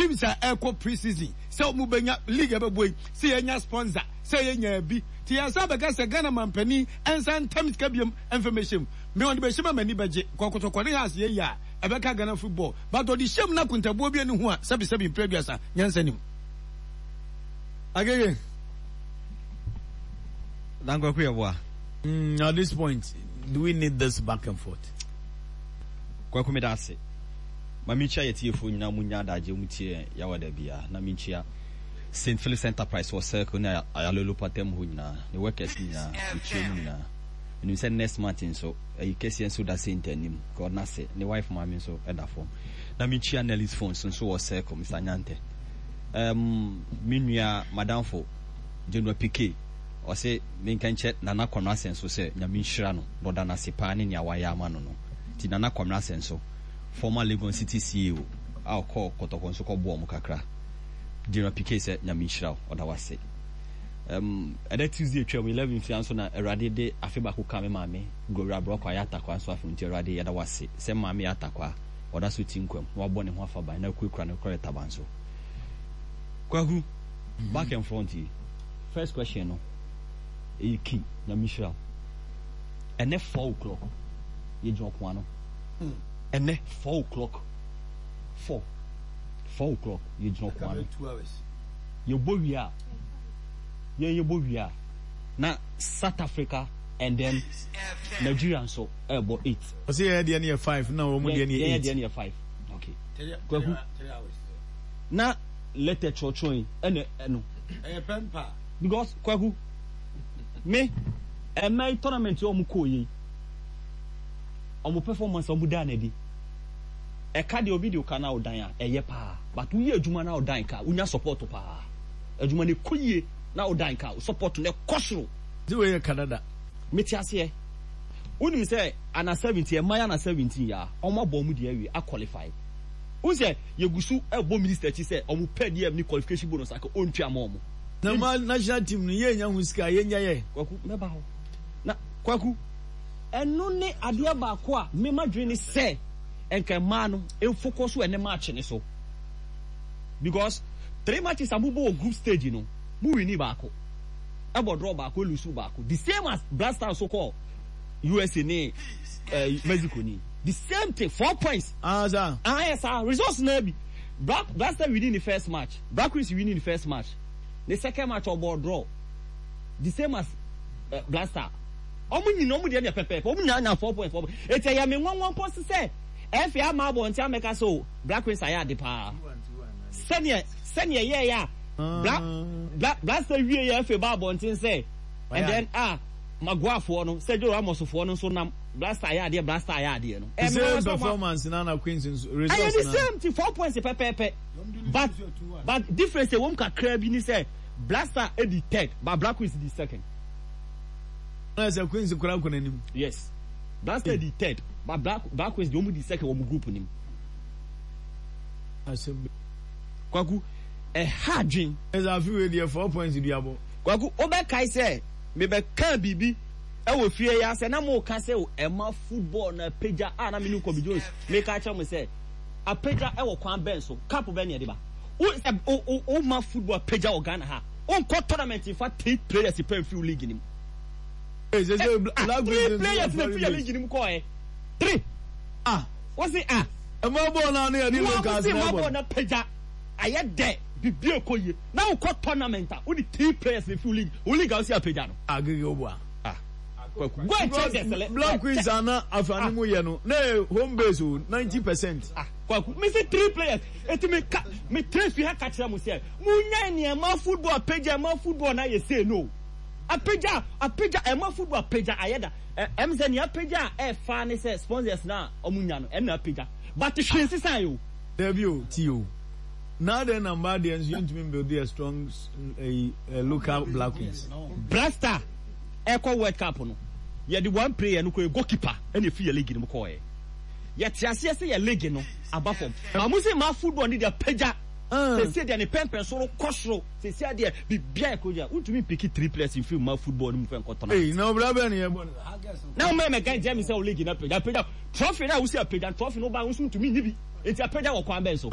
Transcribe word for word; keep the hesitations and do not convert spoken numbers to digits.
Teams a ɛkɔ pre-season sɛ ɔmo bɛnya league ɛbɛbɔ yi, sɛ yɛnya sponsor, sɛ yɛnya bi ti, yɛn bɛka sɛ Ghana mampanin ɛnsa ntam sika biam ɛmfɛmɛhyɛ mu. Me ɔde bɛhyɛ mu a, m'ani bɛgye kɔkɔtɔkɔ ne Hearts yɛ yi a ɛbɛka Ghana football, but ɔde hyɛ mu na kuntabuo bi ani ho a, sɛbisɛbi, mpere aduasa nyansa nim. Agege. Dankwaku yɛ boa. Mm, at this point, do we need this back and forth? Kwaku, mi da ase. Ma mi nkyia yɛ tiefoɔ nyinaa mu nya adagye mu tie Yawa da bia, na mi nkyia Saint Phillips Enterprise wɔ Circle ne Ayalolo patam hɔ nyinaa, ne workers nyinaa, mekyia mu nyinaa. Menim sɛ next month nso ɛyi kɛseɛ nso da Saint anim ka ɔna se ne wife maame nso ɛda fam. Na menkyia Nelly's Phones nso wɔ Circle, Mister Nyante, um, me nua madamfo General P K, ɔse menka nkyɛ Nana Kwamena Asɛn so sɛ Nyame nhyira no na ɔda n'ase paa ne nea wayɛ ama no no Nti Nana Kwamena Asɛn so, former Legon City C E O a ɔkɔɔ Kɔtɔkɔ nso kɔboɔ mo kakra, General P K, sɛ Nyame nhyira wo, ɔda wase. um, ɛdɛ Tuesday twam eleven fia nso na Awurade de afe baako ka me maame Gloria Aborɔkɔ ayɛ atakwa nso afe. Nti Awurade, yɛda wase sɛ maame yɛ atakwa, ɔda so ti nkwam na wabɔ ne ho afa ban na akurakura ne korɔ taban so. Kwaku, back and front yi, first question no ɛyɛ key. Nyame nhyira wo. Ɛnɛ four o'clock yɛgyina ɔko ano. Ɛnɛ four o'clock, four four o'clock yɛgyina ɔko ano. Yɛbɔ wie a, yɛn yɛbɔ wie a, na South Africa and then Nigeria nso ɛbɔ eight. Ɔsɛ yɛn deɛ no yɛ five na wɔn deɛ no yɛ eight. Yɛn deɛ no yɛ five. Okay, Kwaku, na letter kyerɛkyerɛ yi ɛna ɛno. Ɛyɛ pɛmpa. Because Kwaku, me ɛmɛ yi tournament yi ɔmo kɔɔ yi, ɔmo performance ɔmo da n'adi, ɛka deɛ obi de ɔka na ɔdan a ɛyɛ paa, but woyɛ adwuma na ɔdan ka, wonya support paa, adwuma no kɔ yie na ɔdan ka, support no ɛkɔ soro. Ti wei yɛ Canada. Mete aseɛ. Wonim sɛ ana seventeen ɛma yɛ ana seventeen yɛ a ɔmo abɔ ɔmo deɛ awie, aqualify. Wohu sɛ yɛgu so ɛbɔ minister akyi sɛ ɔmo pɛ deɛ ne qualification bonus aka ɔntua ma ɔmo. Na ma national team no yɛn nya ho sika yɛn nya yɛ. Kwaku, mɛba hɔ na Kwaku, ɛno ne adeɛ baako a mema dwene ne sɛ nka mmaa no mfokɔ so ɛne match ne so, because three matches a mobɔ wɔ group stage no, mo win baako, ɛbɔ draw baako, lose baako, the same as Black Stars so kɔ U S A ne uh, Mexico ni, the same thing, four points. Ah, sir. Ah, yes sir, results na bi Black Black Star winning the first match, Black Queens winning the first match, the second match ɔbɔ draw, the same as uh, Black Star. Ɔmo nyina ɔmo deɛ deɛ pɛpɛɛpɛ, ɔmo nyinaa nya four points, four points. Eti ɛyɛ mi nwanwa mpo sisɛ ɛfɛ ama abɔnten amɛka so Black Queens ayɛ ade paa sɛneɛ sɛneɛ yɛɛ yɛ a Black Black Black Star wie yɛ ɛfɛ ba abɔnten sɛ and then ah, Maguafoɔ no, Sergio Ramos foɔ no nso nam Black Star ayɛ adeɛ, Black Star ayɛ adeɛ no. The same performance na na Queens nso results. Ɛyɛ the same ti, four points pɛpɛɛpɛ, but but difference ewom kakra bi ni sɛ Black Star edi third but Black Queens di second. Na sɛ Queens kura kɔ n'anim. Yes, Black Star di third but Black Black Queens di wɔn di second wɔn group nim. Asɛm. Kwaku, ɛha adwen. Ɛsɛ afi wei deɛ, four points di abɔ. Kwaku, wobɛkae sɛ mebɛka biribi ɛwɔ fie yi asɛ na mo ka sɛ ɛma football na apagya a, na me ne Kobi Jones meka kyerɛ mo sɛ apagya ɛwɔ kwan bɛn so? Cup bɛn ne yɛde ba? Wo sɛ wo wo ma football apagya wɔ Ghana ha, wonkɔ tournament nfa three players pɛ nfi league nim. Ee, sɛ sɛ Black Three players na fi yɛ league nim kɔɔ ɛ, three. Ah. Wosi ah. Ɛma bɔɔl naa ne yɛde locals na ɛbɔ. Bɔɔl na apagya ayɛ dɛ bibi ekɔ yie na wokɔ tournament a, wode three players na fi league wo league a wosi apagya no. Agege wo boa. Ah, Kwaku, go and check the select. Black Queens ana afani mu yɛ no na yɛ home base o, ninety percent. Ah, Kwaku, me say three players. Eti me ka me three fi ha ka kyerɛ mo sɛ mo nya nneɛma football apagya, ɛma football na yɛ say no apagya, apagya, ɛma football apagya ayɛ da. ɛ ɛm sɛ nea apagya a ɛfa ne sɛ sponsors na ɔmo nya no, ɛna apagya, but hwee nsisan yi o. Dabi o, ti o. Na adɛn na mmaa deɛ nso yɛntumi build a strong uh, local Black Queens? Black Star ɛkɔ World Cup no, yɛde one player no kɔ, goalkeeper, ɛna efi yɛ league no mu kɔɔ. Yɛ yɛte aseɛ sɛ yɛ league no aba fam, maa sɛ maa football ne deɛ apagya sɛsie deɛ ne pɛmpɛn soro kɔ soro. Sɛsie deɛ bibia ɛkɔ gya, wontumi mpick three players nfiri maa football no mu fɛ nkɔ tournament. Ee, na ɔbɛrɛ bɛn ne yɛ bɔ no? Na wɔn mɛmɛ gan gyɛ mi sɛ o league no apagya, apagya trophy na wosi apagya trophy no ba, nso ntumi nyi bi, eti apagya wɔ kwan bɛn so?